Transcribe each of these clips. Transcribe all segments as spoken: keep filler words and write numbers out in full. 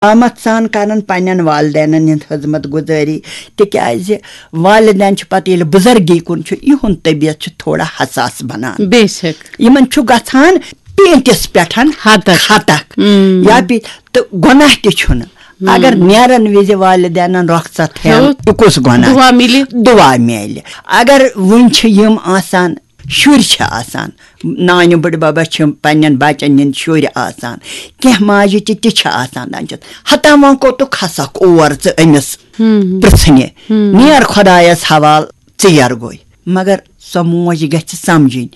آمد سان کران پننٮ۪ن والدینن ہٕنٛز خدمت گزٲری، تِکیازِ والدین چھِ پتہٕ ییٚلہِ بُزرگی کُن چھُ، یِہُنٛد طبیعت چھُ تھوڑا حساس بنان۔ بے شک۔ یِمن چھُ گژھان پیٖنتِس پٮ۪ٹھ ہتک۔ ہتک۔ یا پی-، تہٕ گۄناہ تہِ چھُنہٕ۔ اگر نیرن وِزِ والدینن رۄخصت ہٮ۪ن، ہیوٚت۔ یہِ کُس گۄناہ؟ دُعا مِلہِ۔ دُعا میلہِ۔ اگر وُنہِ چھِ یِم آسان، شُرۍ چھِ آسان، نانہِ بٕڈببس چھِ پننٮ۪ن بچن ہٕنٛدۍ شُرۍ آسان، کینٛہہ ماجہِ تہِ تہِ چھِ آسان دپان چھس، ہتا وۄنۍ کوٚتُکھ کھسکھ اور ژٕ أمِس پرژھنہِ؟ نیر خۄدایس حوال، ژیر گوٚے۔ مگر سۄ موج گژھِ سمجھٕنۍ،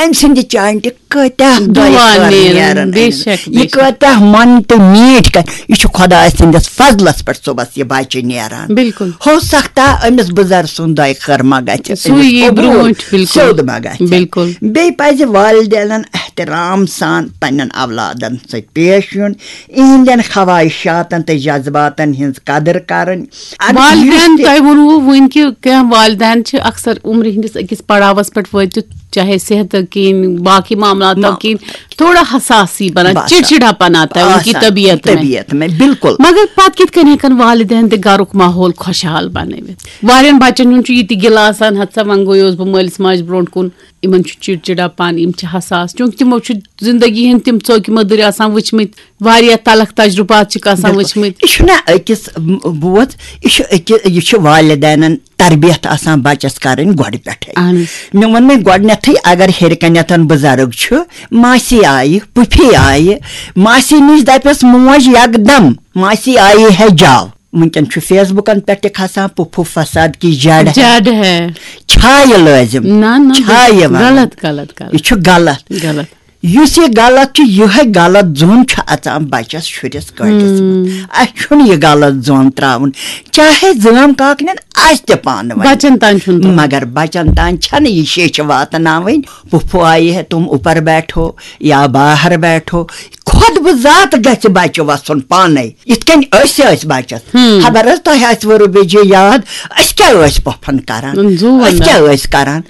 أمۍ سٕنٛدِ چانٹہِ کۭتیاہ دُعا دۄیہِ خٲر نیرن، نیرن بے أمِس۔ شک، بے یہِ شک۔ کۭتیاہ من تہٕ میٖٹھۍ کَتھِ۔ یہِ چھُ خۄداے سٕنٛدِس فضلس پٮ۪ٹھ صُبحس یہِ بچہِ نیران۔ بِلکُل۔ ہو سکتا أمِس بُزرگ سُنٛد دۄیہِ خٲر ما گژھِ سُے أمِس یی قبوٗل، برونٛٹھ، بِلکُل۔ سیوٚد ما گژھِ۔ بِلکُل۔ بیٚیہِ پزِ والدینن احترام سان پننٮ۪ن اولادن سۭتۍ پیش یُن، یِہنٛدٮ۪ن خواہشاتن تہٕ جذباتن ہٕنٛز قدٕر کرٕنۍ۔ اگر والدین یُس تہِ تۄہہِ ووٚنوُ وٕنۍ کہِ کینٛہہ والدین چھِ اکثر عمرِ ہٕنٛدِس أکِس پڑاوس پٮ۪ٹھ وٲتِتھ، چاہے صحتہٕ کِنۍ، باقٕے معاملاتو ما- کِنۍ، تھوڑا حساسی بنان، باسان۔ چڑچڑا پنا تھا ان کی آسان طبیعت میں۔ طبیعت میں، بالکل۔ مگر پتہٕ کِتھ کٔنۍ ہٮ۪کن والدین تہِ گرُک ماحول خۄشحال بنٲوِتھ؟ واریاہن بچن ہُنٛد چھُ یہِ تہِ گِلہٕ آسان، ہتسا وۄنۍ گوٚیوس بہٕ مٲلِس ماجہِ برونٛٹھ کُن۔ یِمن چھُ چڑچڑا پن، یِم چھِ حساس، چونکہ تِمو چھُ زندگی ہٕنٛدۍ تِم ژوکہِ مٔدٕرۍ آسان وٕچھمٕتۍ، واریاہ تلخ تجربات چھِکھ آسان بِلکُل۔ وٕچھمٕتۍ۔ یہِ چھُنہ أکِس، م، بوز، یہِ چھُ أکہِ-، یہِ چھُ والدینن تربیت آسان بچس کرٕنۍ گۄڈٕ پٮ۪ٹھے۔ اہن حظ۔ مےٚ ووٚن وۄنۍ گۄڈٕنیتھٕے، اگر ہیٚرِ کنٮ۪تھ بُزرگ چھُ، ماسی آیہِ، پُفی آیہِ، ماسی نِش دپٮ۪س موج یکدم، ماسی آیی ہے جاو۔ وٕنکٮ۪ن چھُ فیس بُکن پٮ۪ٹھ تہِ کھسان، پُفو فساد کی جڑ ہے۔ جڑ ہے۔ چھا یہِ لٲزِم؟ نہ، نہ، چھا یہِ وَنُن؟ غلط، غلط، غلط۔ یہِ چھُ غلط۔ غلط۔ یُس یہِ غلط چھُ، یِہوٚے غلط ظۄن چھُ اَژان بَچَس، شُرِس، کٲٹِس منٛز۔ اَسہِ چھُنہٕ یہِ غلط ظۄن ترٛاوُن، چاہے زٲم کاکنٮ۪ن آسہِ تہِ پانہٕ ؤنۍ۔ بَچَن تام چھُنہٕ ترٛاوُن۔ مگر بَچَن تام چھَنہٕ یہِ شیٚچھِ واتناوٕنۍ، پُفوٗ آیہِ ہے تِم اوپر بیٹھو یا باہر بیٹھو، خۄد بہٕ ذات گژھِ بَچہِ وَسُن پانَے۔ یِتھ کٔنۍ أسۍ ٲسۍ بَچَس، خبر حظ تۄہہِ آسہِ وٕ رُبی جی یاد، أسۍ کیٛاہ ٲسۍ پۄپھن کران؟ زُو أسۍ وَنان۔ کیٛاہ ٲسۍ کران؟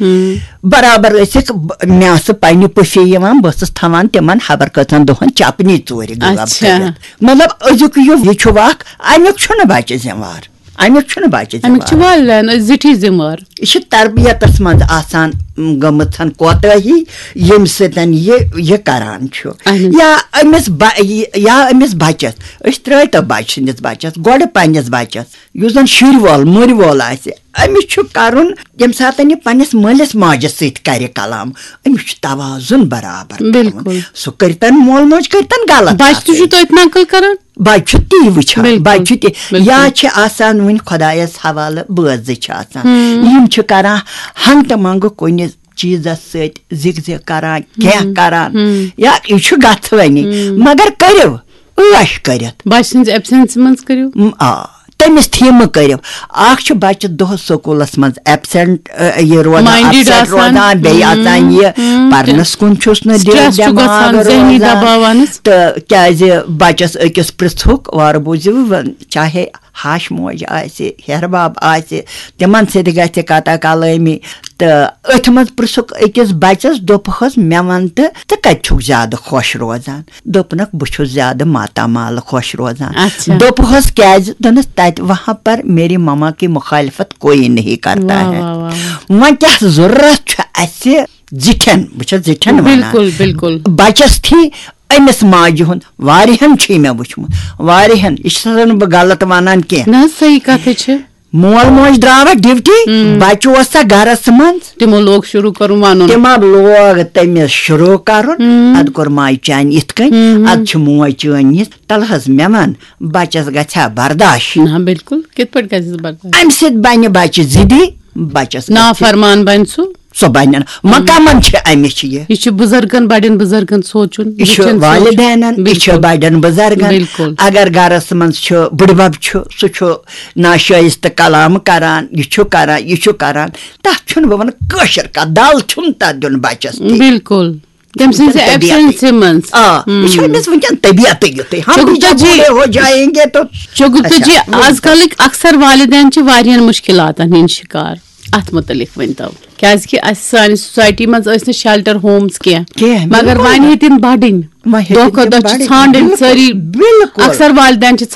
برابر ٲسِکھ ب-، مےٚ ٲسہٕ پننہِ پُفی یِوان، بہٕ ٲسٕس تھاوان تِمن خبر کٔژَن دۄہن چپنی ژوٗرِ غٲب اچھا۔ کٔرِتھ۔ مطلب، أزیُک یُگ، یہِ چھُ اکھ، امیُک چھُنہٕ بَچہِ ذمہٕ وار۔ امیُک چھُنہٕ بَچہِ اَمیُک چھُ ذمہٕ وار۔ والدین أسۍ زِٹھی ذمہٕ وار۔ یہِ چھِ تربیتس منٛز آسان، م، گٔمٕژ کوتٲہی، ییٚمہِ سۭتۍ یہِ، یہِ کران چھُ۔ اہن حظ۔ یا أمِس بَ-، یہِ، یا أمِس بَچَس، أسۍ ترٛٲوۍ تو بَچہٕ سٕنٛدِس بَچَس، گۄڈٕ پننِس بَچَس، یُس زَن شُرۍ وول، مُرۍ وول آسہِ، أمِس چھُ کرُن، ییٚمہِ ساتہٕ یہِ پننِس مٲلِس ماجہِ سۭتۍ کرِ کلام، أمِس چھُ توازُن برابر تھاوُن۔ بِلکُل۔ سُہ کٔرتن مول موج کٔرتن غلط بَچہٕ تہِ چھُ کَتھٕے۔ توتہِ نقل کران۔ بَچہِ چھُ تی وٕچھان، بِلکُل، بَچہِ چھُ تی۔ بِلکُل۔ یا چھِ آسان وٕنہِ خۄدایَس حوالہٕ بٲژ زٕ چھِ آسان۔ یِم چھِ کران ہنٛگتہٕ منٛگہٕ کُنہِ چیٖزَس سۭتۍ زِگ زِگ کران، کینٛہہ کران۔ یا یہِ چھُ گژھوٕنی، مگر کٔرِو عٲش کٔرِتھ۔ بَچہٕ سٕنٛزِ ایبسینسہِ منٛز کٔرِو۔ م-، آ، تٔمِس تھیٖمہٕ کٔرِو۔ اکھ چھُ بَچہٕ دۄہَس سکوٗلَس منٛز ایبسینٹ، ٲ، یہِ روزان، مایِنڈِڈ اپسیٹ آسان۔ روزان، بیٚیہِ اَژان یہِ پَرنَس کُن چھُس نہٕ دِ-، سٹریس چھُ دٮ۪ماغ گژھان، ذہنی روزان۔ دباو وَنَس۔ تہٕ کیٛازِ بَچَس أکِس پرٛژھُکھ، وارٕ بوٗزِو، چاہے ہَش موج آسہِ، ہیٚہَر بَب آسہِ، تِمَن سۭتۍ گژھِ کَتھا کَلٲمی۔ تہٕ أتھۍ منٛز پرٛژھُکھ أکِس بَچَس، دوٚپہَس، "مےٚ وَن تہٕ، ژٕ کَتہِ چھُکھ زیادٕ خۄش روزان؟" دوٚپنَکھ، "بہٕ چھُس زیادٕ ماتامال خۄش روزان۔" اچھا۔ دوٚپہَس، "کیٛازِ؟" دوٚپنَس، "تَتہِ وہاں پر میری مما کی مخالفت کوئی نہیں کرتا واہ، ہے۔" واہ، واہ، واہ۔ وۄنۍ کیٛاہ ضروٗرت چھُ اَسہِ زِٹھٮ۪ن، بہٕ چھَس زِٹھٮ۪ن وَنان۔ بِلکُل، بِلکُل۔ بَچَس تھی أمِس ماجہِ ہُنٛد، واریاہَن چھُ مےٚ وٕچھمُت، واریاہَن، یہِ چھَس نہٕ بہٕ غلط وَنان کینٛہہ۔ نہ حظ، صحیح کَتھٕے چھِ۔ مول موج درٛاوا ڈیوٹی، بَچہٕ اوس سا گَرَس منٛز۔ تِمو لوگ شروٗع کَرُن وَنُن۔ تِمو لوگ تٔمِس شروٗع کَرُن، اَدٕ کوٚر ماجہِ چانہِ یِتھ کٔنۍ، اَدٕ چھِ موج چٲنۍ یِتھ۔ تَلہٕ حظ مےٚ وَن، بَچَس گژھِ ہا برداش؟ نہ، بِلکُل، کِتھ پٲٹھۍ گژھٮ۪س برداش؟ اَمہِ سۭتۍ بَنہِ بَچہِ ضِدی، بَچَس گژھِ نافرمان بَنہِ سُہ۔ سۄ بَنن۔ مقامن چھِ اَمِچ یہِ۔ یہِ چھُ بُزرگن، بَڑٮ۪ن بُزرگن سونٛچُن، یہِ چھُ وٕچھُن سونٛچُن۔ والدینن، یہِ چھُ بِلکُل۔ بَڑٮ۪ن بُزرگن۔ بِلکُل۔ اگر گَرَس منٛز چھُ بٕڈبَب چھُ، سُہ چھُ ناشٲیِستہٕ کلام کران، یہِ چھُ کران، یہِ چھُ کران، تَتھ چھُنہٕ بہٕ وَنہٕ کٲشِر کَتھ، دَل چھُنہٕ تَتھ دیُن بَچَس تہِ۔ بِلکُل۔ تٔمۍ سٕنٛزِ طبیعتٕے۔ ایبسنسہِ منٛز۔ آ، یہِ چھُ أمِس وٕنکیٚن طبیعتٕے یُتھُے۔ ہم بھی جب چونکہ جی، بوڑھے ہو جائیں گے تو چونکہ اچھا، جی، آز کَلٕکۍ اکثر والدین چھِ واریاہَن مُشکِلاتَن ہٕنٛدۍ شِکار۔ اَتھ مُتعلِق ؤنۍتو۔ کیازِ کہِ اسہِ سانہِ سوسایٹی منٛز ٲسۍ نہٕ شیلٹر ہومز کینٛہہ، کینٛہہ، مگر بِلکُل وۄنۍ نہٕ۔ ہیٚتِن بڑٕنۍ۔ وۄنۍ ہیٚتِن دۄہ کھۄتہٕ تِم دۄہ چھِ بڑٕنۍ۔ ژھانڈٕنۍ بِلکُل، سٲری۔ بِلکُل۔ اکثر والدین چھِ